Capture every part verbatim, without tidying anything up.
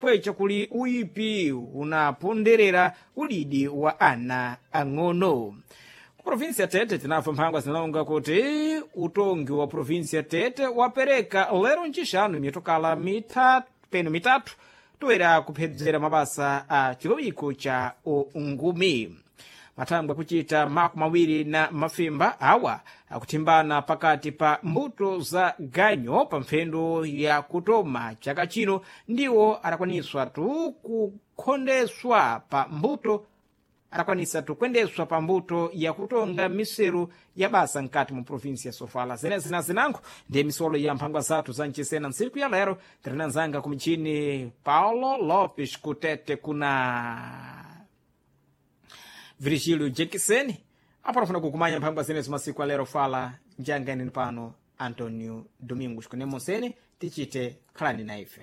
pwecha kuli uyipi unaponderera udidi wa ana ang'ono. Ku provinsi ya Tete tinapfa mphangwa zinalonga kuti utongi wa provinsi ya Tete wapereka lero ncixanu mitokala mitatu peno mitatu toera kuphedzera mabasa a chilowiko cha ungumi. Mathangwe akuchita makumi awiri na mafimba awa akuthimbana pakati pa mbuto za ganyo pa mphendo ya kutoma chaka chino ndiwo adakwaniswa tu kukhondeswa pa mbuto adakwanisa tukwendeswa pa mbuto yakutonga miseru ya basa nkati mu provinsi ya Sofala. Zenezi na zinango ndiye misolo ya mphangwa zathu za mchisena ntsiku ya lero. Tirinanzanga ku mchini Paulo Lopes kutete kuna Virgílio Jekiseni apanafuna kukumanya mphangwa zenezo masiku alero. Fala njanganeni pano Antonio Domingos kunemonsene tichite khalani na ife.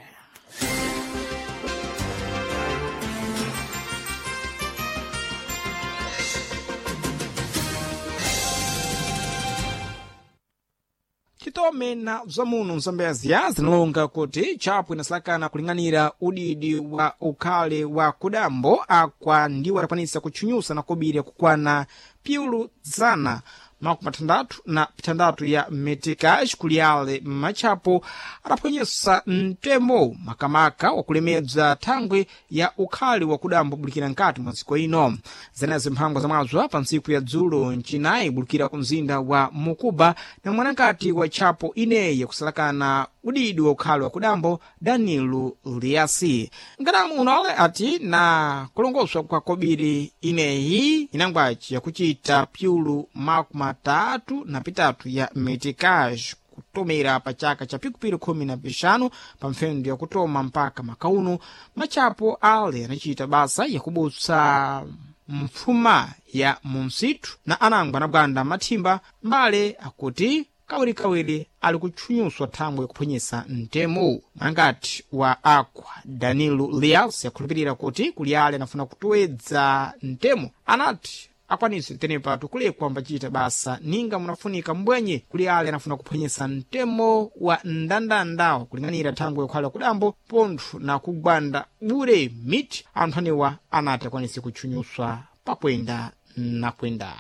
Chitome na bzamuno mzambezia zinalonga kuti chapu inasalakana kuling'anira udidi wa ukhale wa kudambo akwa ndiwo adakwanisa kutchunyusa na kobiri kukwana piulu zana makumi atandatu na pitandatu ya metikash kuliyale matchapo adaphwanyesa mtembo makamaka wakulemedza thangwi ya ukhali wakudambo bulikira nkati mwa dziko ino. Zenezo mphangwa zamwazwa pa ntsiku ya dzulo ncinayi bulikira ku mzinda wa Mukuba na mwanakati wa tchapo ineyi yakusalakana udidi wa ukhali wakudambo Danilo Liasi. Nkadamu unole ati na kulongoswa kwa kobiri ineyi inangwaci yakuchita pyulu makumi atatu na pitatu ya meticage kutomera pa chaka cha pikupiri khumi na pixanu pa mphendo yakutoma mpaka makauno matchapo ale anacita basa yakubutsa mfuma ya munsitu na anangwa anabwanda mathimba mbale akuti kawirikawiri ali kutchunyuswa thangwe kuphwenyesa mtemo. Mwangati wa akwa Danilo Lias yakhulupirira kuti kuli ale anafuna kutowedza mtemo anati akwanise tenepa tukulekwa ambacita basa ninga munafunika mbwenye kuli ale anafuna kuphwenyesa mtemo wa ndandanda kuling'anira thangwe yokhala kudambo pontho na kugwanda bure miti anthu anewa anati akwanise kutchunyuswa pakwenda na kwenda.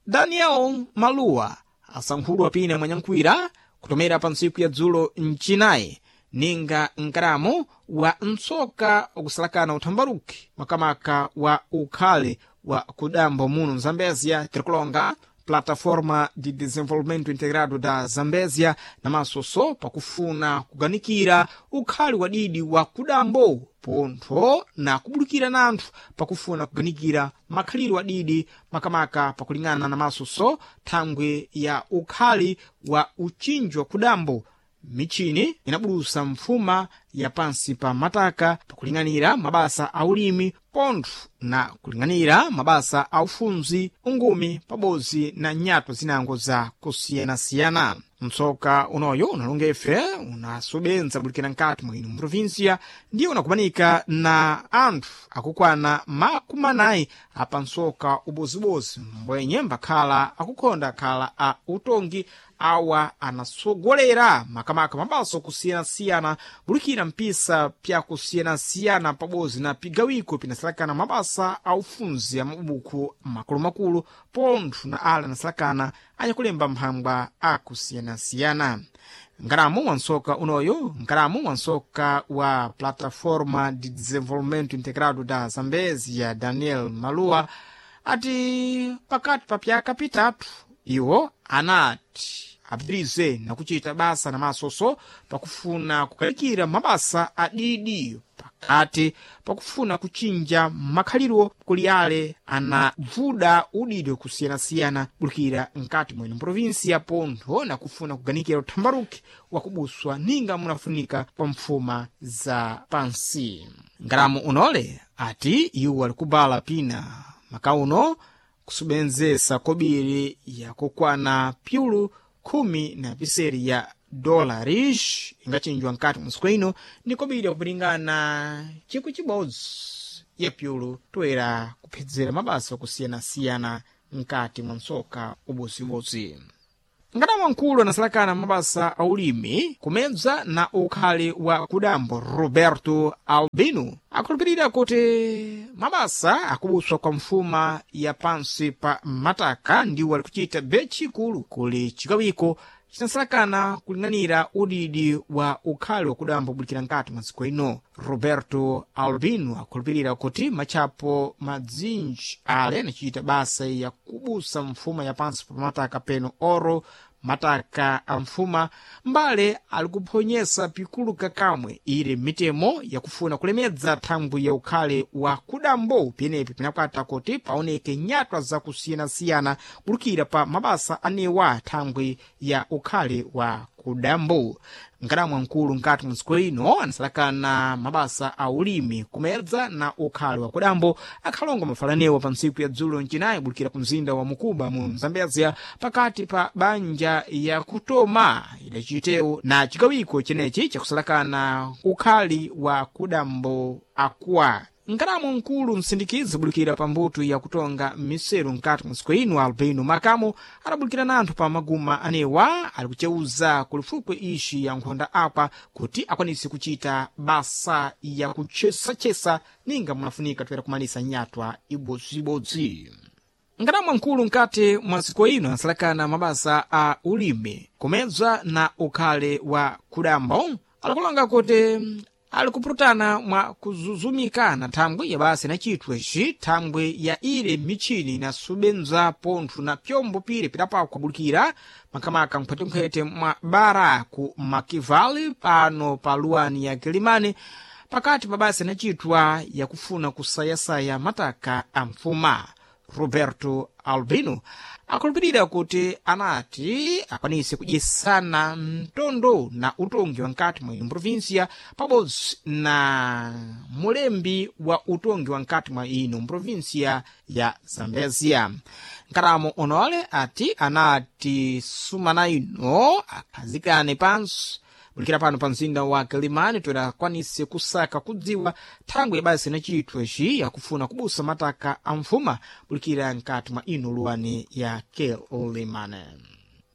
Daniel Maluwa asankhulwa pina mwanyankhwira kutomera pa ntsiku ya dzulo mchinayi ninga nkalamu wa mtsoka ukusalakana uthambaruki makamaka wa ukhale wa kudambo muno mzambezia tirikulonga Plataforma de Desenvolvimento Integrado da Zambésia namasoso pakufuna kuganikira ukhali wadidi wa kudambo pontho na kubulukira na anthu pakufuna kuganikira makhaliro adidi makamaka pakulingana na masoso thangwe ya ukhali wa uchinji wa kudambo. Michini inabulusa mfuma ya pansi pa mataka pakuling'anira mabasa a ulimi pontho na kuling'anira mabasa a ufunzi ungumi pabodzi na nyato zinango za kusiyanasiyana. Mtsoka unoyo unalonga ife unasobenza bulikira nkati mwa ino mprovinsia ndiye unakumanika na anthu akukwana makumi anayi apa mtsoka ubozibozi mbwenye mbakhala akukhonda khala a utongi awa anasogolera makamaka mabaso kusiyanasiyana bulikira mpisa pyakusiyanasiyana pabodzi na pigawiko pinasalakana mabasa a ufunzi a mabuku makulumakulu pontho na ale anasalakana anyakulemba mphangwa akusiyanasiyana. Nkalamu wa mtsoka unoyu nkalamu wa mtsoka wa Plataforma de Desenvolvimento Integrado da Zambésia Daniel Malua ati pakati pa pyaka pitatu iwo anati apitirize na kuchita basa na masoso pakufuna kukalikira mabasa adidi pakati pakufuna kuchinja makhaliro kuli ale anavuda udidi kusiyana-siyana bulukira nkati mwene mprovinsi pontho na kufuna kuganikira uthambaruki wakubuswa ninga munafunika pa mfuma za pansi. Ngalamu unole ati iwo alikubala pina makauno kusubenzesa kobiri yakukwana pyulu khumi na piseri ya dolares ingachinjwa nkati masiku ino ni kobiri yakulingana chikwi chibodzi ya pyulu toera kuphedzera mabasa okusiyana-siyana nkati mwa mtsoka ubozibodzi. Ngati wamkulu anasalakana mabasa a ulimi kumedza na ukhali wa kudambo Roberto Albino akhulupirira kuti mabasa akubuswa kwa mfuma ya pansi pa mataka ndiwo ali kuchita betchikulu kuli chikawiko chinasalakana kuling'anira udidi wa ukhali wakudamba kubulikira nkati mwa dziko ino. Roberto Albino akhulupirira kuti matchapo madzinji ale anachita basa ya kubusa mfuma ya pansi pa mataka peno oro mataka a mfuma mbale ali kuphonyesa pikulu kakamwe ili mitemo yakufuna kulemedza thangwi ya ukhale wa kudambo penepi pinakwata kuti paoneke nyatwa zakusiyanasiyana kulukira pa mabasa anewa thangwi ya ukhale wa kudambo. Nkadamwa mkulu nkati mwa dziko ino anasalakana mabasa a ulimi kumedza na ukhale wa kudambo akhalonga mafalanewa pa ntsiku ya dzulo mcinayi bulikira ku mzinda wa Mukuba mu Zambezia pakati pa banja ya kutoma idacitewo na chikawiko chenechi chakusalakana ukhali wa kudambo akwa. Nkadamo mkulu msindikizi bulikira pa mbuto ya kutonga miseru nkati mwa dziko ino Albino Makamo adabulikira nanthu pa maguma anewa ali kuceuza kulifukwe ixi ya nkhonda apa kuti akwanise kuchita basa ya kuchesachesa ninga munafunika toera kumalisa nyatwa ibodzibodzi. Nkadamwa mkulu nkati mwa dziko ino anasalakana mabasa a ulimi kumedza na ukhale wa kudambo alikulonga kuti ali kupulutana mwa kuzuzumikana thangwi ya basa inachitwa ici thangwi ya ile michini inasubenza pontho na pyombo pire pidapakwa kubulikira makamaka mphwetemphwete mwa bara ku Makivali pano pa luwani ya Kilimani pakati pa basa inachitwa yakufuna kusayasaya mataka a mfuma. Roberto Albino akhulupirira kuti anati akwanise kudyesana mtondo na utongi wa nkati mwa ino provinsia pabodzi na mulembi wa utongi wa nkati mwa ino provinsia ya Zambezia. Nkaramo onole ati anati sumana ino akhazikane pansi bulikira pano pa mzinda wa Kilimani toera akwanise kusaka kudziwa thangwi ya basa inachitwa ici yakufuna kubusa mataka a mfuma bulikira nkati mwa ino luwani ya Kilimani.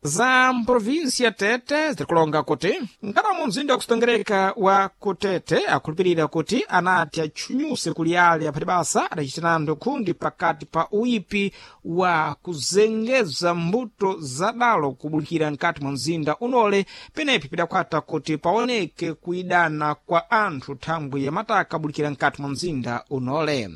Za mprovinsia Tete zirikulonga kuti nkaramo mzinda wakusitongereka wa kutete akhulupirira kuti anati atchunyuse kuli ale aphati basa adachitanando khundi pakati pa uyipi wa kuzengeza mbuto zadalo kubulikira nkati mwa mzinda unole penepi pidakwata kuti paoneke kuidana kwa anthu thangwi ya mataka bulikira nkati mwa mzinda unole.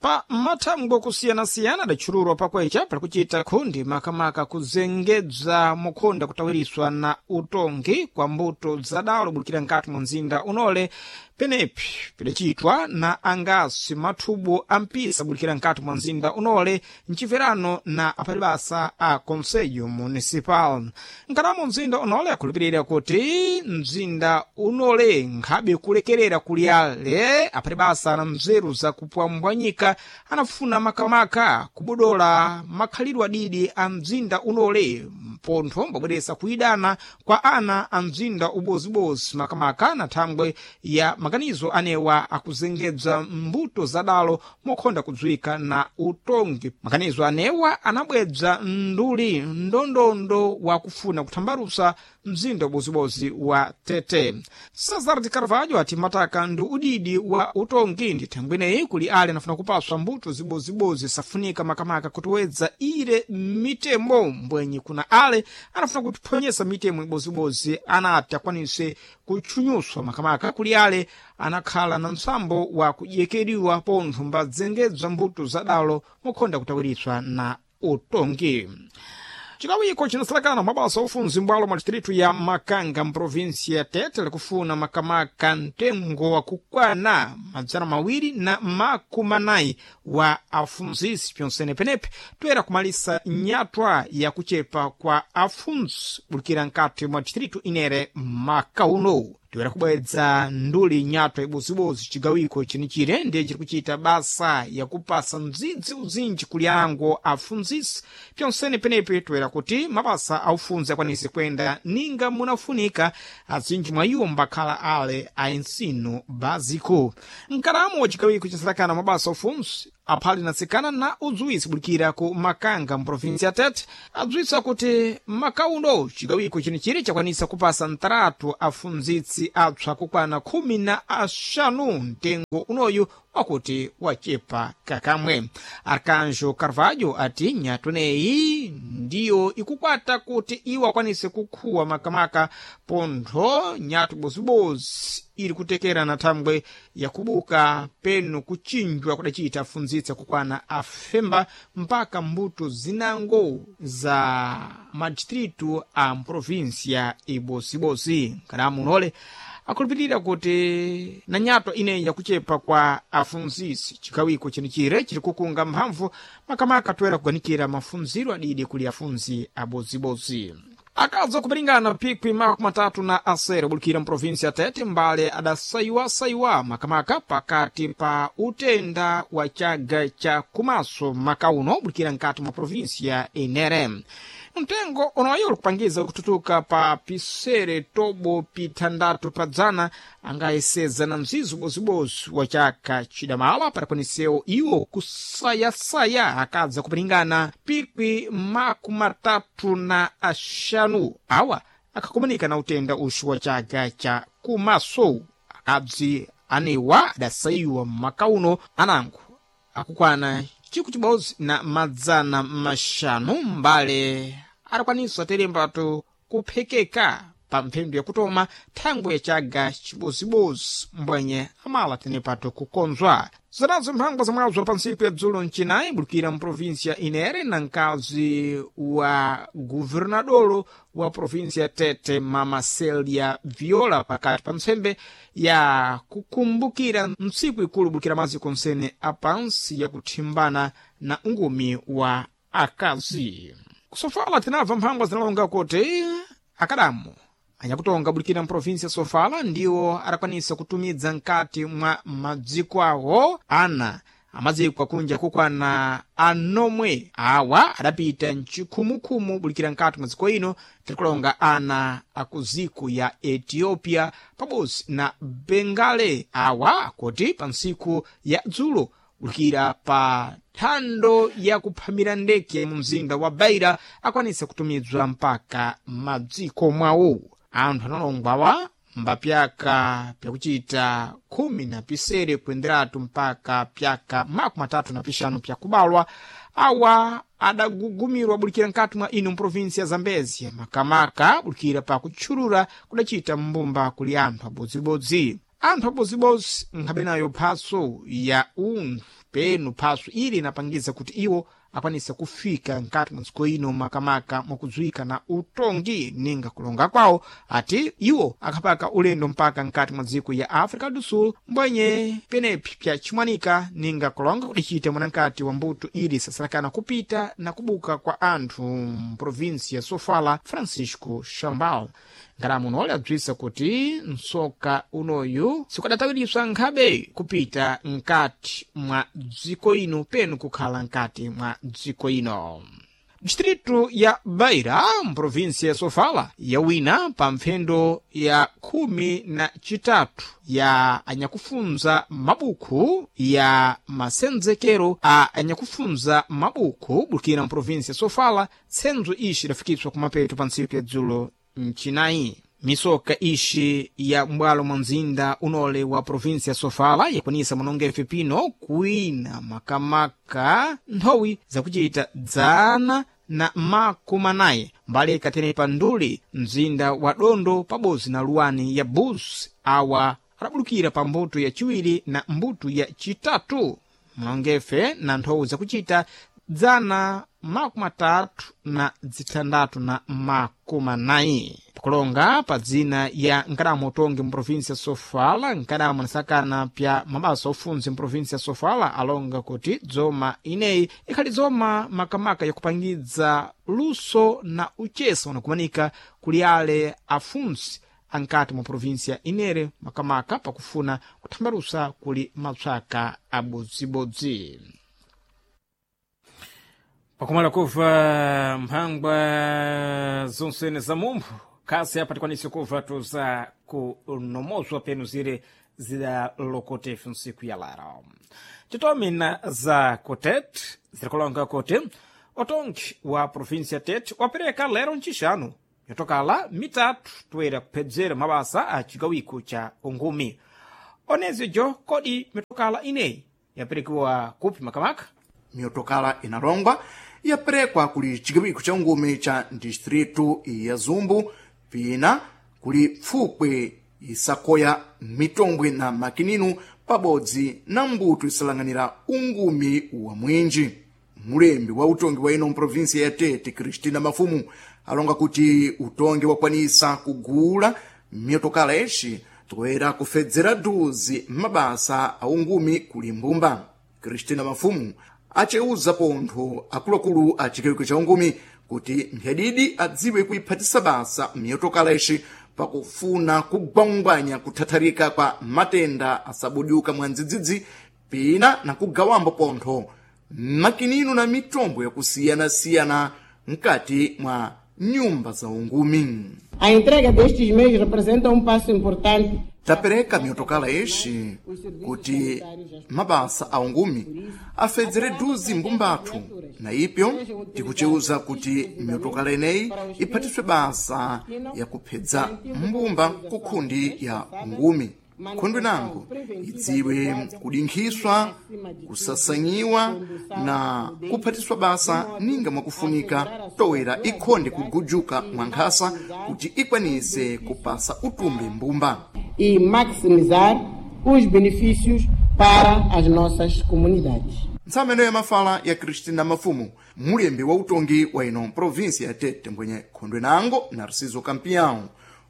Pa mathangwi okusiyanasiyana adatchulurwa pakwecha pali kuchita khundi makamaka kuzengedza mukhonda kutawiriswa na utongi kwa mbuto zadalo bulikira nkati mwa mzinda unole penepi pidacitwa na angasi mathubu a mpisa bulikira nkati mwa mzinda unole mchimverano na aphatibasa a conselho municipal. Nkalamo mzinda unole akhulupirira kuti mzinda unole nkhabe kulekerera kuli ale aphatibasa na mzeru zakupwambwanyika anafuna makamaka kubodola makhalidwe adidi a mzinda unole mpontho mbabweresa kuidana kwa ana a mzinda ubozibozi makamaka na thangwe ya maganizo anewa akuzengedza mbuto zadalo mokhonda kudziwika na utongi. Maganizo anewa anabwedza nduli ndondondo wakufuna kuthambalusa mzinda ubozibozi wa Tete. Cesar de Carvalho ati mataka ndi udidi wa utongi ndi thangwineyi kuli ale anafuna kupaswa mbuto zibozibozi safunika makamaka kutiwedza ile mitemo mbwenyi kuna ale anafuna kutiphonyesa mitemo ibozibozi anati akwanise kutchunyuswa makamaka kuli ale anakhala na msambo wa kudyekeriwa pontho mbadzengedzwa mbuto zadalo mokhonda kutawiriswa na utongi. Chikawiko chinasalakana mabasa ofunzi mbwalo mwa distritu ya Makanga mprovinsi ya Tete likufuna makamaka mtengo wakukwana madzana mawiri na makumi anayi wa afunzisi pyonsene penepe toera kumalisa nyatwa ya kuchepa kwa afunzi bulikira nkati mwa distritu inere maka uno. Toera kubwedza nduli nyatwa ibozibozi chigawiko chenichire ndiye chiri kuchita basa yakupasa mdzidzi uzinji kuli ango afunzisi pyonsene penepe toera kuti mabasa aufunzi akwanise kwenda ninga munafunika azinji mwa iwo mbakhala ale a ensino básico. Mkalamo wa chigawiko chasalakana mabasa aufunzi aphali natsikana na udziwisi bulikira ku Makanga mprovinsi ya Tete adziwisa kuti makauno chigawiko chenichiri chakwanisa kupasa ntaratu afunzitsi apsa kukwana khumi na axanu mtengo unoyu wakuti wachepa kakamwe. Arcanjo Carvalho ati nyatoneyi ndiyo ikukwata kuti iwo akwanise kukhuwa makamaka pontho nyatu bozibozi iri kutekera na thangwe yakubuka penu kuchinjwa kudacita afunzitsa kukwana afemba mpaka mbuto zinango za madistritu a mprovinsia ibosibosi. Kadamu unole akhulupirira kuti na nyatwa ineyi yakuchepa kwa afunzisi chikawiko chenichire chiri kukunga mphamvu makamaka toera kuganikira mafunziro adidi kuli afunzi abozibozi. Akaza kupilingana pikwi makumi matatu na asere obulikira mprovinsi ya Tete mbale adasayiwasayiwa makamaka pakati pa utenda wa chaga cha kumaso makauno obulikira nkati mwa provinsi ya Enere. Mtengo unoyo ulikupangiza kututuka pa pisere tobo pithandatu padzana angayeseza na mzizo bozibozi wa chaka chidamala padakwaniseo iwo kusayasaya akadza kupilingana pikwi makumi matatu na axanu awa akhakumanika na utenda uxu wa chaka cha kumaso. Akadzi anewa adasayiwa makauno anango akukwana chiku chibodzi na madzana maxanu mbale adakwanisa terembatu kuphekeka pa mphendu yakutoma thangwe yachaga chibozibozi mbwenye amala tenepato kukonzwa. Zanazo mphangwa zamwazo pa ntsiku ya dzulo mcinayi bulikira mprovinsi ya Inere na mkazi wa guvernadolo wa provinsi ya Tete Mama Celia Viola pakati pa ntsembe ya kukumbukira ntsiku ikulu bulikira maziko nsene apansi yakuthimbana na ungumi wa akazi. Kusofala tinabva mphangwa zinalonga kuti akadamu anyakutonga bulikira mprovinsi ya Sofala ndiwo adakwanisa kutumidza nkati mwa madziko awo ana amadziko akunja kukwana anomwe awa adapita mchikhumukhumu bulikira nkati mwa dziko ino tirikulonga ana akuziko ya Ethiopia pabodzi na Bengale awa kuti pa ntsiku ya dzulo bulikira pa thando yakuphamira ndeke mu mzinda wa Beira akwanisa kutumidzwa mpaka madziko mwawo. Anthu analongwawa mbapyaka pyakuchita khumi na pisere kuenderatu mpaka pyaka makumi atatu na pixanu pyakubalwa awa adagugumirwa bulikira nkati mwa ino mprovinsi ya Zambezia makamaka bulikira pa kutchulura kudacita mbumba kuli anthu abodzibodzi. Anthu abodzibodzi nkhabe nayo phaso ya unthu penu phaso ili inapangiza kuti iwo akwanisa kufika nkati mwa dziko ino makamaka mwakudziwika na utongi ninga kulonga kwawo ati iwo akhapaka ulendo mpaka nkati mwa dziko ya Africa do Sul mbwenye penepi pyachimwanika ninga kulonga kudicita mwanankati wa mbuto ili sasalakana kupita na kubuka kwa anthu mprovinsi ya Sofala Francisco Chambal. Ngalamu unole adzwisa kuti msoka unoyu sikudatawiriswa nkhabe kupita nkati mwa dziko ino penu kukhala nkati mwa dziko ino. Distritu ya Beira mprovinsi ya Sofala yawina pa mphendo ya khumi na chitatu ya anyakufunza mabuku ya masenzekero a anyakufunza mabuku bulikira mprovinsi ya Sofala tsenzo ixi idafikiswa kumapeto pa ntsiku ya dzulo mchinayi. Misoka ixi ya m'bwalo mwa mzinda unole wa provinsi ya Sofala yakwanisa munongefe pino kuwina makamaka nthowi zakuchita dzana na makumi anayi mbali ikatenepa nduli mzinda wa Dondo pabodzi na luwani ya Bus awa adabulukira pa mbuto ya chiwiri na mbuto ya chitatu munongefe na nthowi zakuchita dzana makumi atatu na zitandatu na makumi anayi. Pakulonga pa dzina ya nkadamo utongi mprovinsi ya Sofala nkadamo anasakana pya mabasa ofunzi mprovinsi ya Sofala alonga kuti dzoma ineyi ikhali dzoma makamaka yakupangidza luso na uchesa unakumanika kuli ale afunzi ankati mwa provinsi ya Inere makamaka pakufuna kuthambalusa kuli mapsaka abodzibodzi. Pakumala kuva mphangwa zonsene za mumphu kasi apa tikwanise kuva tuza kunomozwa penu zire zidalokotefe nsiku ya lero. Titomina za kutet zirikulonga kuti otongi wa província Tete wapereka lero ncixanu yotokala mitatu toera kuphedzera mabasa a cigawiko ca ungumi. Onezyo kodi mitokala ineyi yaperekiwa kupi makamaka? Miyotokala inalongwa yaperekwa kuli cigawiko ca ungumi ca distritu ya Zumbu, pina kuli pfupwe isakoya mitombwe na makininu pabodzi na mbuto isalang'anira ungumi wa mwinji. Mulembi wa utongi wa ino mprovinsia ya Tete, Cristina Mafumu, alonga kuti utongi wakwanisa kugula miyotokala ixi toera kufedzera duzi mabasa a ungumi kuli mbumba. Cristina Mafumu aceuza pontho akuluakulu a chigawiko cha ungumi kuti mphadidi adziwe kuiphatisa basa miyotokala ixi pakufuna kugwangwanya kuthatharika kwa matenda asabudyuka mwa ndzidzidzi, pina na kugawambo pontho makinino na mitombo yakusiyanasiyana mkati mwa nyumba za ungumi. A entrega destes meios representa um passo importante. Tapereka miyotokala ixi kuti mabasa a ungumi afedzere duzi mbumbathu, na ipyo tikuceuza kuti miyotokala ineyi iphatiswe basa yakuphedza mbumba ku khundi ya ungumi. Khundwi nango idziwe kudinkhiswa, kusasanyiwa na kuphatiswa basa ninga mwakufunika towera ikhonde kugujuka mwankhasa kuti ikwanise kupasa utumbi mbumba e maximizar os benefícios para as nossas comunidades. Ntsameno ya mafala ya Cristina Mafumu, mulembi wa utongi wa ino província ya Tete, mbwenye khondwe nango Narciso Campião.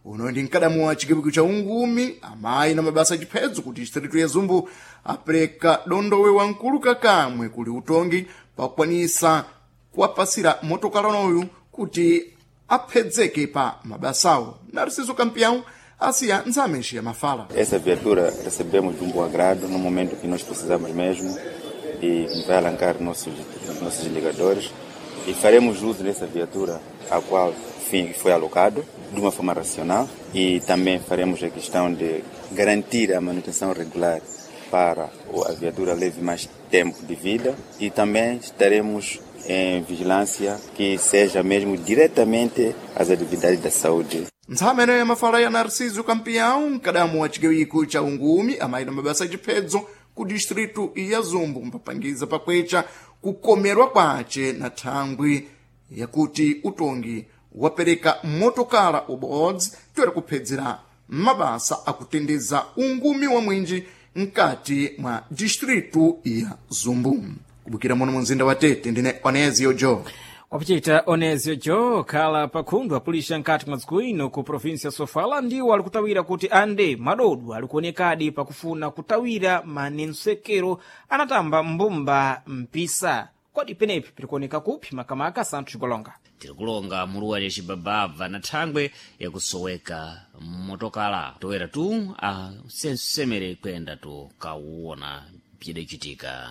Uno ndi mkadamu wa chigawiko cha ungumi amayi na mabasa achiphedzo kuti distritu ya Zumbu apereka dondowe wamkulu kakamwe kuli utongi pakukwanisa kuwapasira motokala unoyu kuti aphedzeke pa mabasawo. Narciso Campião asiya ntsame ya mafala. Essa viatura recebemos de um bom agrado no momento que nós precisamos mesmo e vai alancar nossos, nossos indicadores e faremos uso dessa viatura a qual fim foi alocado de uma forma racional e também faremos a questão de garantir a manutenção regular para a viatura leve mais tempo de vida e também estaremos em vigilância que seja mesmo diretamente às atividades da saúde. Ntsameno ya mafala ya Narciso Campião, mkadamu wa chigawiko cha ungumi amayi na mabasa achiphedzo ku distritu ya Zumbu, mpapangiza pakwecha kukomerwa kwace na thangwi yakuti utongi wapereka motokala ubodzi toera kuphedzera mabasa akutendeza ungumi wa mwinji mkati mwa distritu ya Zumbu. Kubukira muno munzinda wa Tete, ndine Onezio Jo. Wapichita Onezio Jo khala pakhundu apulisha nkati mwa dziko ino ku província Sofala ndiwo ali kutawira kuti ande madodu ali kuonekadi pakufuna kutawira manensekero anatamba mbumba mpisa. Kodi penepi pirikuoneka kupi makamaka Santos Golonga? Tirikulonga muluwa lya cibabava na thangwe yakusoweka mmotokala toera tu asensemere kuyenda tu kawuona bzidacitika.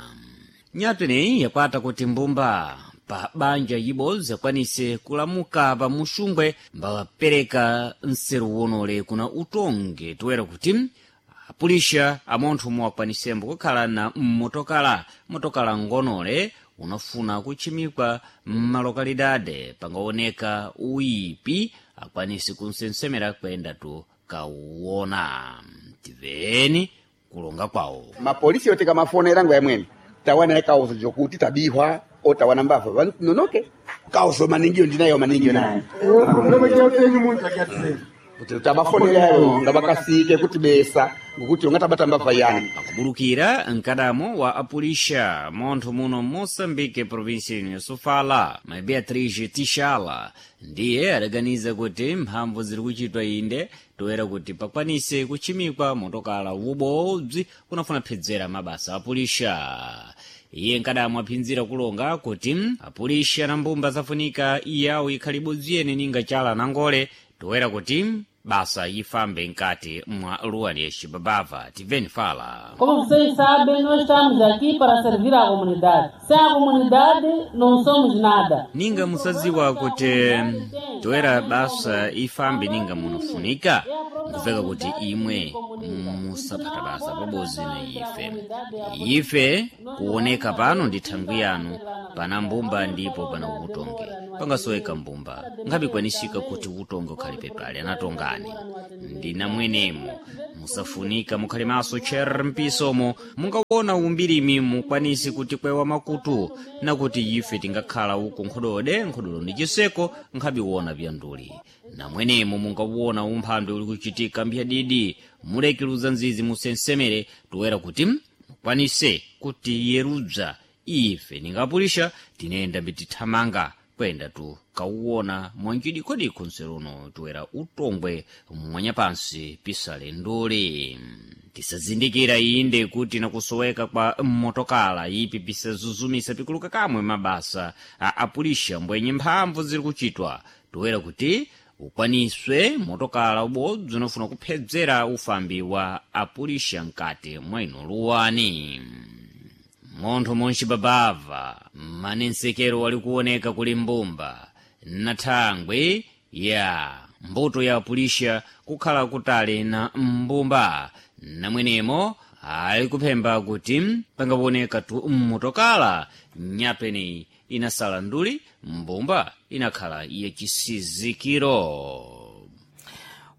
Nyatu ineyi yakwata kuti mbumba pa banja ibodzi akwanise kulamuka pa muxungwe mbawapereka nseru wonole kuna utongi toera kuti apulixa amontho omwe akwanisembo kukhala na mmotokala motokala ngonole unafuna kutchimikwa mmalokalidade pangaoneka uyipi akwanise kunsensemera kuyenda tu kawuona. Timveni kulonga kwawo. Mapolisi yote kamafonera ngo yamwene tawana kauzo jokuti tabihwa otawana mbava vanonoke kauzo maningiyo ndinayo maningiyo nayo kuti tabafonera yayo ngabakasike kuti besa ngokuti ungatabata mbava yani. Pakubulukira mkadamo wa apulixa montho muno Moçambique, província ino ya Sofala, mai Beatriz Tixala ndiye adaganiza kuti mphamvu ziri kuchitwa inde toera kuti pakwanise kutchimikwa motokala ubodzi unafuna phedzera mabasa apulixa. Iye nkadamo aphinzira kulonga kuti apulixa na mbumba zafunika iyawo ikhali ibodzi yene ninga chala na ngole toera kuti basa ifambe nkati mwa luwani ya xibabava. Timveni fala. Como vocês sabem, nós estamos aqui para servir à comunidade. Sem a comunidade, não somos nada. Ninga musadziwa kuti toera basa ifambe ninga munofunika Nkuveka kuti imwe musaphata basa pabodzi na ife. Ife kuoneka pano ndi thangwi yanu, pana mbumba ndipo pana utonge. Pangasoweka mbumba, ngapikwanisika kuti utonge ukhalipe pale anatongani. Ndinamwenemo musafunika mukhale maso tcher mpisomo, mungaona umbirimi mukwanisi kuti kwewa makutu, nakuti ife tingakhala uku nkhodode nkhodolo ndi chiseko nkhabiwona pyanduli. Namwenemo mungawona umphandwe uli kuchitika mphiyadidi, mulekiluza nzizi musensemere, toera kuti mukwanise kuti yerudza ife ningapulisha tinenda mbitithamanga kwenda tu kauwona mwanjidikodiko nseruno toera utongwe mwanyapansi pisale nduli. Tisazindikira inde kuti nakusoweka kwa motokala ipi pisazuzumisa pikuluka kamwe mabasa a apulisha mbwenye mphamvu ziri kuchitwa, toera kuti ukwaniswe motokala ubodzi unofuna kuphedzera ufambi wa apulisha mkati mwa ino luwani. Munthu munchibabava manensekero wali kuoneka kuli mbumba na thangwi ya mbuto ya apulisha kukhala kutali na mbumba, namwenemo ali kuphemba kuti pangaoneka tu mmotokala nyapeni inasala nduli, mbumba inakhala yachisizikiro.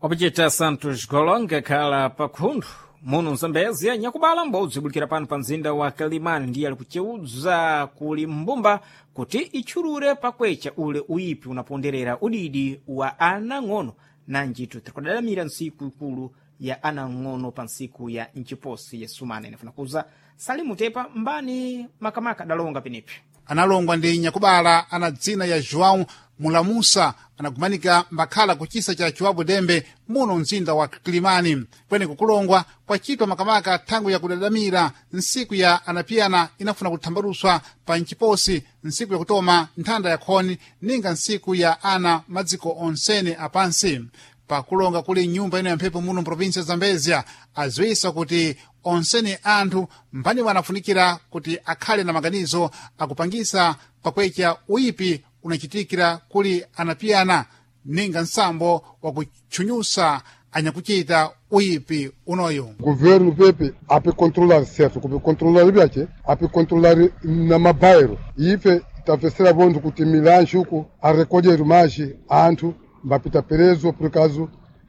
Wapachita Santos Golonga khala pakhunthu muno mzambezia nyakubala mbodzi ibulikira pano pa mzinda wa Kalimani, ndiye ali kuceudza kuli mbumba kuti itchulure pakwecha ule uyipi unaponderera udidi wa anang'ono, nanjitu tikudadamira ntsiku ikulu ya anang'ono pa ntsiku ya mchiposi ya sumana. Inafuna kuza Salimu Tepa mbani makamaka adalonga penepi. Analongwa ndi nyakubala ana dzina ya João Mulamusa, anagumanika mbakhala kuchisa cha Chiwabu Dembe muno mzinda wa Kilimani. Kweni kukulongwa kwachitwa makamaka thangwi ya kudadamira ntsiku ya anapiyana inafuna kuthambaluswa pa nchiposi, ntsiku yakutoma nthanda ya khoni ninga ntsiku ya ana madziko onsene apansi. Pakulonga kuli nyumba ino ya mphepo muno mprovinsi ya Zambezia aziwisa kuti onsene anthu mbani wanafunikira kuti akhale na maganizo akupangisa pakwecha uyipi unachitikira kuli anapiyana ninga nsambo wakutchunyusa anyakuchita uyipi unoyo. Governo pepe ape controlar certo, kupe controlar byache, ape controlar na mabairo. Ife tafesera bondu kuti milanji uku arecolher mais anthu mbapita preso por causa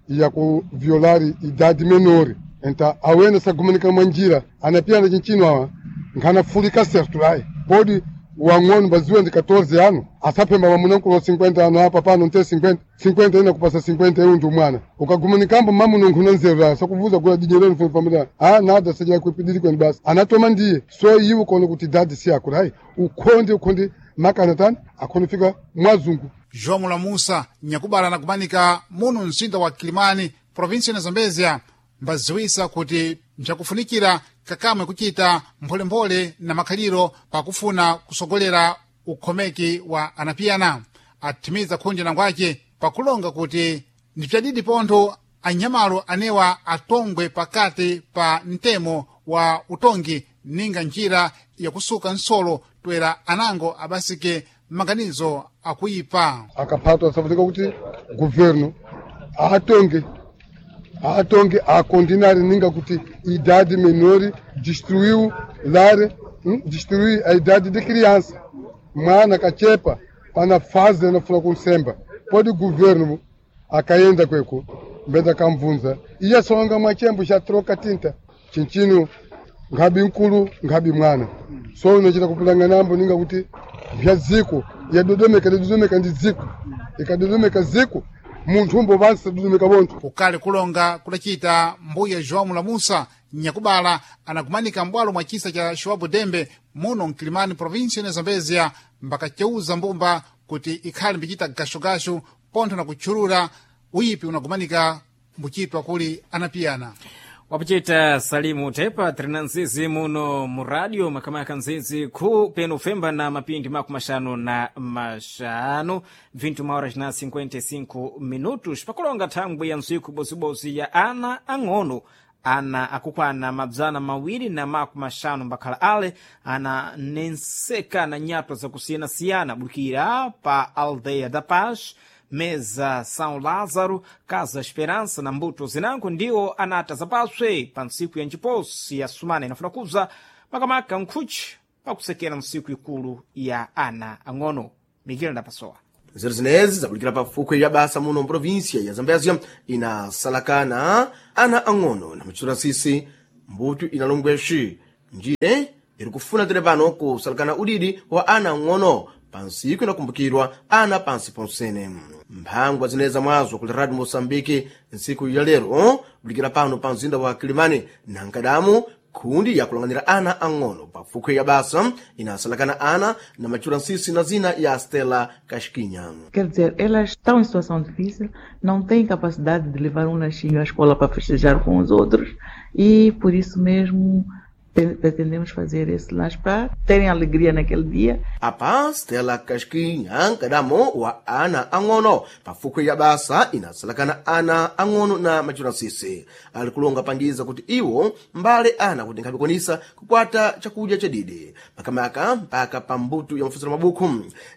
ya kuviolar idade menor. Então awene sagumanika mwanjira anapiyana chinchino awa nkhanafulika certo lai podi wang'ono baziwe ndi catorze ano asaphemba mamunankulo cinquenta ano apa pano nte cinquenta cinquenta ina kupasa cinquenta eu ndi mwana ukagumanikambo mamuno nkhuna nzeru la sakuvuza kula dinyereni funa pamene ah nada sajira kuipidiri kweni basi anatoma ndiye so iwe ukaona kuti dadi si akula hayi ukhonde ukhonde makana tani akhonde fika mwazungu. João Mulamusa nyakubala anakumanika muno mzinda wa Kilimani provinsi ya Zambezia mbaziwisa kuti mchakufunikira kakamwe kuchita mpholemphole na makhaliro pakufuna kusogolera ukhomeki wa anapiyana. Athimiza khunji nangwace pakulonga kuti ndipyadidi pontho anyamalo anewa atongwe pakati pa mtemo wa utongi ninga njira yakusuka nsolo toera anango abasike maganizo akuyipa. Akaphatwa safunika kuti governo atonge atonge akondinari ninga kuti idade menor destruiu lar, hum, destruiu a idade de criança. Mwana kachepa pana fase anafuna kunsemba pode governo akaenda kweko mbeza kamvunza iye songa mwachembo cha troca tinta chinchino nkhabi nkulu nkhabi mwana so unachita kupulanga nambo ninga kuti vya dziko yadodomeka yadodomeka ndi dziko ikadodomeka dziko munthu umbo pansi dodomeka bontho. Kukali kulonga kudacita mbuya João Mulamusa nyakubala anakumanika mbwalo mwa chisa cha Chiwabu Dembe muno mkilimani provinsi ya Zambezia mbakaceuza mbumba kuti ikhale mbichita gashugashu pontho na kutchulula uyipi unakumanika mbuchitwa kuli anapiyana. Wapachita Salimu Tepa trina nzizi muno mu radio makamaka nzizi khu peno femba na mapindi makumi maxanu na maxanu vinte horas na cinquenta e cinco minutos pakulonga thangwi ya ntsiku ibozibodzi ya ana ang'ono ana akukwana mabzana mawiri na makumi maxanu mbakhala ale ananenseka na nyatwa zakusiyanasiyana bukira pa Aldeia da Paz Meza São Lázaro, Casa Esperança na mbuto zinango ndiwo anata zapaswe pa ntsiku ya njiposi ya sumana inafuna kubza makamaka nkhuchi pakusekera ntsiku ikulu ya ana ang'ono. Miguel Ndapasowa. Nzeru zinezi zakulikira pafukwe ya basa muno mprovinsia ya Zambézia inasalakana ana ang'ono na machitula sisi mbuto inalongweshi njire iri kufuna tere pano kusalakana udidi wa ana ang'ono pansiku inakumbukirwa ana pansi ponsene. Mphangwa zineza mwazo kuli Radio Moçambique ntsiku ya lero kulikira pano pa mzinda wa Kilimani na nkadamu khundi yakulang'anira ana ang'ono pafukwe ya basa inasalakana ana na machura nsisi na zina ya Stella Casquinha. Quer dizer, elas estão em situação difícil, não têm capacidade de levar um lanchinho à escola para festejar com os outros e por isso mesmo pretendemos fazer esse lanche para terem alegria naquele dia. Apa Stella Casquinha nkadamo wa ana ang'ono pafukwe ya basa inasalakana ana ang'ono na machura nsisi ali kulonga pangiza kuti iwo mbale ana kuti nkhapikonisa kukwata chakudya chadidi makamaka mpaka pa mbuto ya mafusiro mabuku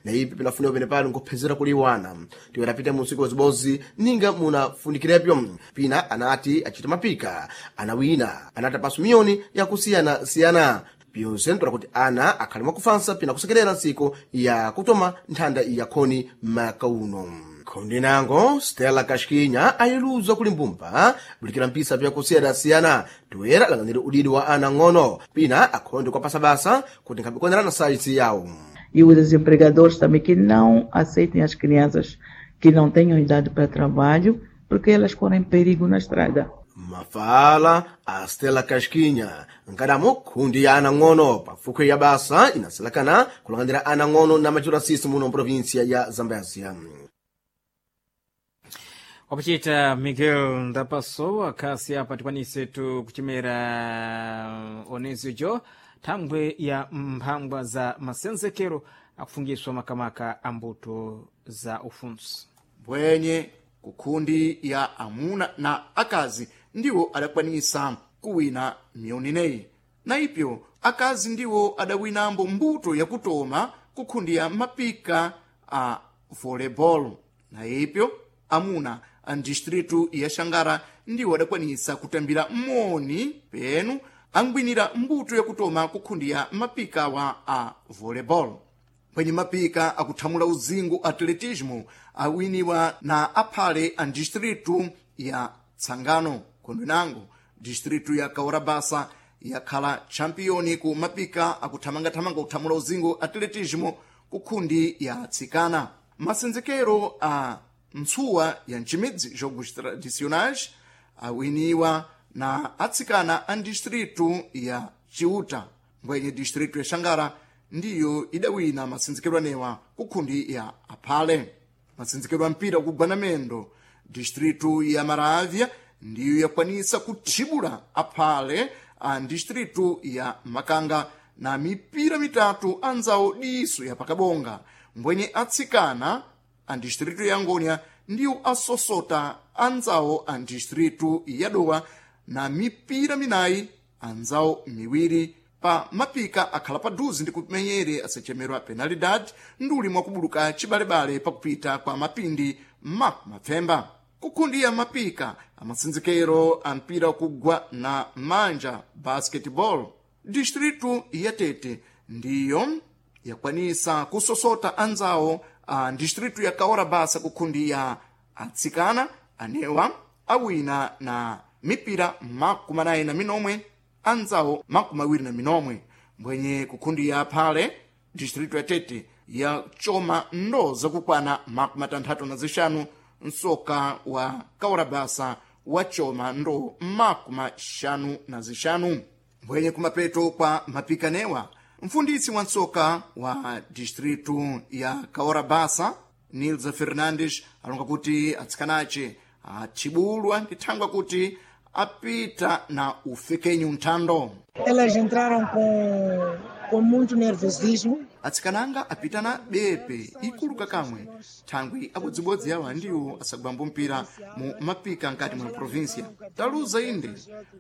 na ipi pinafunika pene pano nkuphezera kuli wana tiwerapita mu usiku wazibozi ninga munafunikirepyo pina anati achita mapika anawina anata pasu miyoni yakusiyana siyana pyonse ntola kuti ana akhale mwakufansa pina kusekerera ntsiku ya kutoma nthanda yakhoni maka uno. Khonde nango Stella Kashkinya ayiluza kuli mbumba bulikira mpisa pyakusiyana-siyana toera alang'anire udidi wa ana ng'ono pina akhonde kwa pasabasa kuti nkhabikonerana na sayizi yawo. E os empregadores também que não aceitem as crianças que não tenham idade para trabalho, porque elas correm perigo na estrada. Mafala a Stella Kashkinya nkadamo khundi ya ana ng'ono pafukwe ya basa inasalakana kulang'anira ana ng'ono na machura sisi muno mprovinsia ya Zambézia. Wakuchita Miguel Ndapasowa khasi apa tikwanise tu kuchimera onezijo thangwe ya mphangwa za masenzekero akufungiswa makamaka a mbuto za ufunsi mbwenye kukhundi ya amuna na akazi ndiwo adakwanisa kuwina miyoni ineyi na ipyo akazi ndiwo adawinambo mbuto yakutoma kukhundi ya mapika a volleyball na ipyo amuna a distritu ya Xangara ndiwo adakwanisa kutambira moni penu angwinira mbuto yakutoma kukhundi ya mapika wa a volleyball. Kwenye mapika akuthamula uzingo atletismo awiniwa na aphale a distritu ya Tsangano. Khondwe nango distritu ya Kaurabasa yakhala champiyoni ku mapika akuthamangathamanga kuthamula uzingo atletismo ku khundi ya atsikana. Masenzekero a ntsuwa ya ncimidzi jogos tradicionais awiniwa na atsikana a distritu ya Ciuta. Mbwenye distritu ya Xangara ndiyo idawina masenzekero anewa ku khundi ya aphale. Masenzekero a mpira kugwana mendo distritu ya Maravya ndiyo yakwanisa kuthibula aphale a distritu ya Makanga na mipira mitatu anzawo diso ya pakabonga. Mbwenye atsikana a distritu ya Ngonia ndiyo asosota anzawo a distritu ya Dowa na mipira minayi anzawo miwiri pa mapika akhala paduze ndi kumenyere asachemerwa penalidade nduli mwakubuluka chibalebale pakupita kwa mapindi ma mapfemba. Kukhundi ya mapika amasenzekero a mpira kugwa na manja basketball distritu ya Tete ndiyo yakwanisa kusosota anzawo a distritu ya Kaorabasa kukhundi ya atsikana anewa awina na mipira makumi anayi na minomwe anzawo makumi awiri na minomwe. Mbwenye kukhundi ya aphale distritu ya Tete yachoma ndo zakukwana makumi atanthatu na zixanu nsoka wa Kaorabasa wachoma ndo makumi axanu na zixanu. Mbwenye kumapeto kwa mapikanewa mfundisi wa nsoka wa distritu ya Kaorabasa Nilza Fernandes alonga kuti atsikanace atchibulwa ndi thangwa kuti apita na ufekenyu nthando. Elas entraram com, com muito nervosismo. Atsikananga apita na bepe ikuluka kamwe thangwi abodzibodzi awa ndiwo asagwambo mpira mu mapika nkati mwa provinsia taluza inde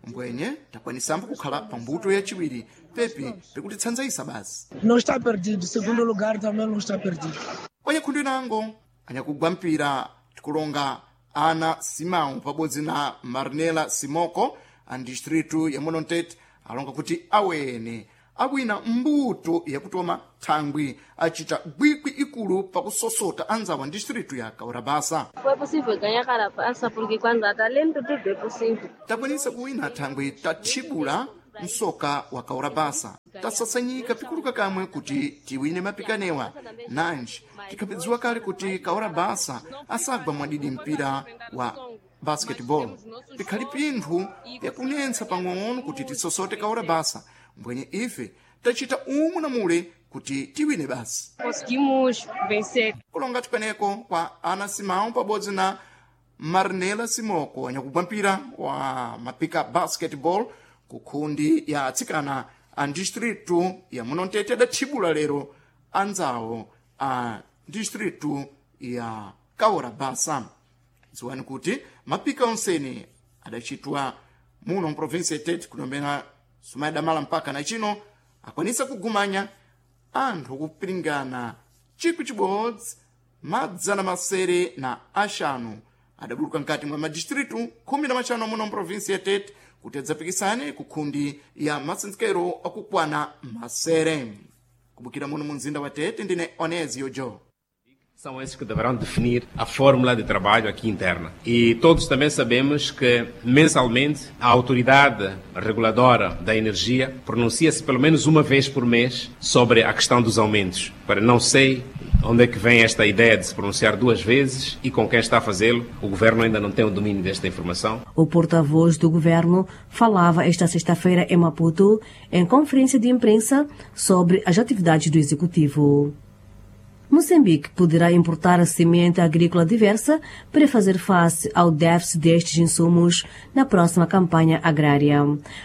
mbwenye takwanisambo kukhala pambuto yachiwiri pepi pikutitsanzaisa basi. Não está perdido. Segundo lugar também não está perdido. Kwenye khundi nango Anyakugwa mpira tikulonga Ana Simão pabodzi na Marnela Simoko a distritu ya muno Mtete alonga kuti awene awina mbuto yakutoma thangwi acita gwikwi ikulu pakusosota anzawo a distritu ya Kaurabasa. Foi possível ganhar Carapaça porque quando há talento tudo é possível. Takwanisa kuwina thangwi tathibula msoka wa Kaurabasa, tasasanyika pikuluka kamwe kuti tiwine mapikanewa nanji tikhapedziwa kale kuti Kaurabasa asagwa mwadidi mpira wa basketball. Pikhali pinthu pyakunentsa pang'ono kuti tisosote Kaurabasa, mbwenye ife tacita umwe na mule kuti tiwine basi. Conseguimos vencer. Kulonga tikweneko kwa Ana Simão pabodzi na Marnela Simoko anyakugwa mpira wa mapika basketball ku khundi ya atsikana a distritu ya muno Mtete adathibula lero anzawo a distritu ya Kaurabasa. Dziwani kuti mapika onsene adacitwa muno mprovinsi ya Tete kunomena sumayadamala mpaka na chino akwanisa kugumanya anthu kupiringana chikwi chibodzi madzana masere na axanu adabuluka mkati mwa madistritu khumi na maxanu muno mprovinsi ya Tete kuti adzapikisane ku khundi ya masenzekero akukwana masere. Kubukira muno mu mzinda wa Tete ndine Onésio Jo. São esses que deverão definir a fórmula de trabalho aqui interna. E todos também sabemos que, mensalmente, a autoridade reguladora da energia pronuncia-se pelo menos uma vez por mês sobre a questão dos aumentos. Para não sei onde é que vem esta ideia de se pronunciar duas vezes e com quem está a fazê-lo. O governo ainda não tem o domínio desta informação. O porta-voz do governo falava esta sexta-feira em Maputo, em conferência de imprensa, sobre as atividades do executivo. Moçambique poderá importar semente agrícola diversa para fazer face ao déficit destes insumos na próxima campanha agrária.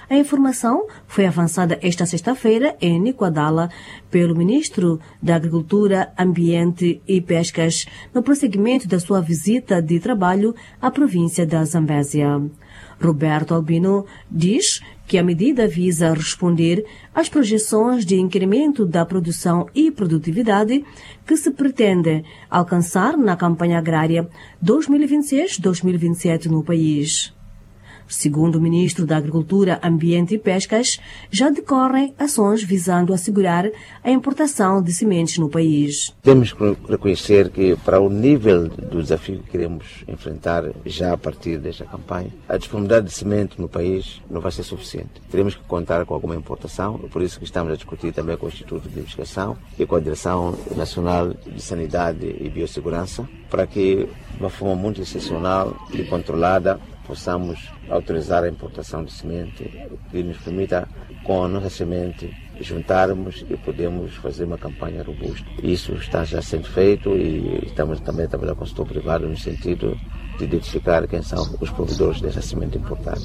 A informação foi avançada esta sexta-feira em Nicoadala pelo ministro da Agricultura, Ambiente e Pescas no prosseguimento da sua visita de trabalho à província da Zambésia. Roberto Albino diz que a medida visa responder às projeções de incremento da produção e produtividade que se pretende alcançar na campanha agrária dois mil e vinte e seis dois mil e vinte e sete no país. Segundo o ministro da Agricultura, Ambiente e Pescas, já decorrem ações visando assegurar a importação de sementes no país. Temos que reconhecer que, para o nível do desafio que queremos enfrentar já a partir desta campanha, a disponibilidade de semente no país não vai ser suficiente. Teremos que contar com alguma importação, por isso que estamos a discutir também com o Instituto de Investigação e com a Direção Nacional de Sanidade e Biossegurança, para que, de uma forma muito excepcional e controlada, possamos autorizar a importação de semente que nos permita, com a nossa semente, juntarmos e podemos fazer uma campanha robusta. Isso está já sendo feito e estamos também a trabalhar com o setor privado no sentido de identificar quem são os provedores dessa semente importada.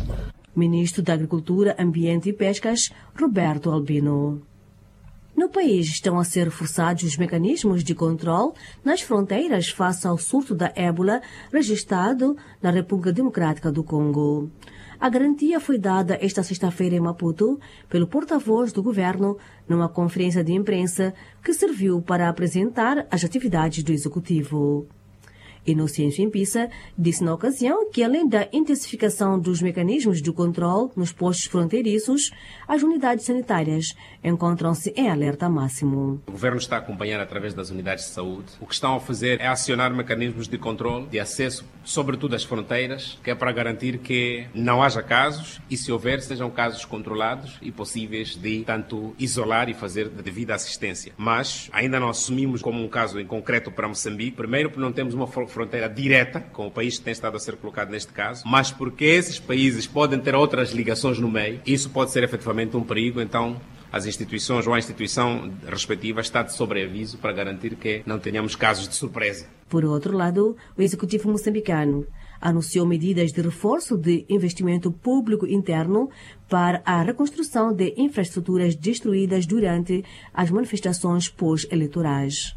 Ministro da Agricultura, Ambiente e Pescas, Roberto Albino. No país estão a ser reforçados os mecanismos de controle nas fronteiras face ao surto da ébola registrado na República Democrática do Congo. A garantia foi dada esta sexta-feira em Maputo pelo porta-voz do governo numa conferência de imprensa que serviu para apresentar as atividades do executivo. Inocêncio Impissa disse na ocasião que, além da intensificação dos mecanismos de controle nos postos fronteiriços, as unidades sanitárias encontram-se em alerta máximo. O governo está a acompanhar através das unidades de saúde. O que estão a fazer é acionar mecanismos de controle, de acesso, sobretudo às fronteiras, que é para garantir que não haja casos e, se houver, sejam casos controlados e possíveis de tanto isolar e fazer de devida assistência. Mas ainda não assumimos como um caso em concreto para Moçambique. Primeiro, porque não temos uma fronteira direta com o país que tem estado a ser colocado neste caso, mas porque esses países podem ter outras ligações no meio, isso pode ser efetivamente um perigo, então as instituições ou a instituição respectiva está de sobreaviso para garantir que não tenhamos casos de surpresa. Por outro lado, o executivo moçambicano anunciou medidas de reforço de investimento público interno para a reconstrução de infraestruturas destruídas durante as manifestações pós-eleitorais.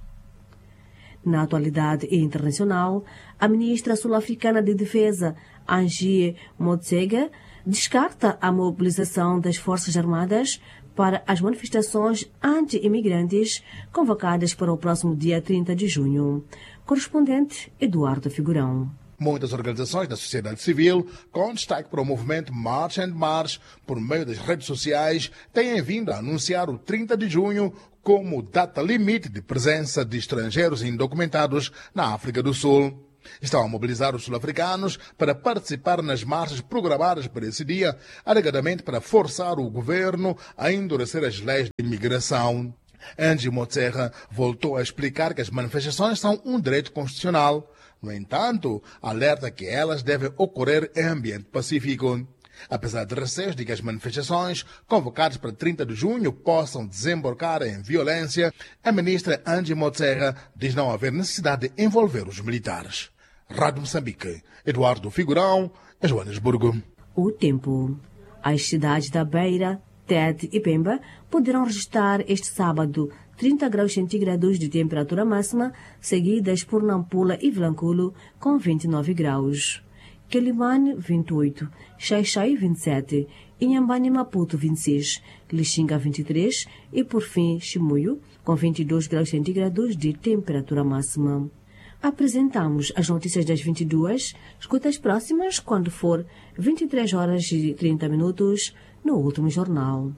Na atualidade internacional, a ministra sul-africana de Defesa, Angie Motshekga, descarta a mobilização das Forças Armadas para as manifestações anti-imigrantes convocadas para o próximo dia trinta de junho. Correspondente Eduardo Figurão. Muitas organizações da sociedade civil, com destaque para o movimento March and March, por meio das redes sociais, têm vindo a anunciar o trinta de junho como data limite de presença de estrangeiros indocumentados na África do Sul. Estão a mobilizar os sul-africanos para participar nas marchas programadas para esse dia, alegadamente para forçar o governo a endurecer as leis de imigração. Angie Motshekga voltou a explicar que as manifestações são um direito constitucional. No entanto, alerta que elas devem ocorrer em ambiente pacífico. Apesar de receios de que as manifestações convocadas para trinta de junho possam desembocar em violência, a ministra Angie Motshekga diz não haver necessidade de envolver os militares. Rádio Moçambique, Eduardo Figurão, Joanesburgo. O tempo. As cidades da Beira, Tete e Pemba poderão registrar este sábado trinta graus centígrados de temperatura máxima, seguidas por Nampula e Vilanculo com vinte e nove graus. Quelimane, vinte e oito, Xai-Xai, vinte e sete, Inhambane e Maputo, vinte e seis, Lixinga, vinte e três e, por fim, Chimoio, com vinte e dois graus centígrados de temperatura máxima. Apresentamos as notícias das vinte e duas, escuta as próximas quando for vinte e três horas e trinta minutos no último jornal.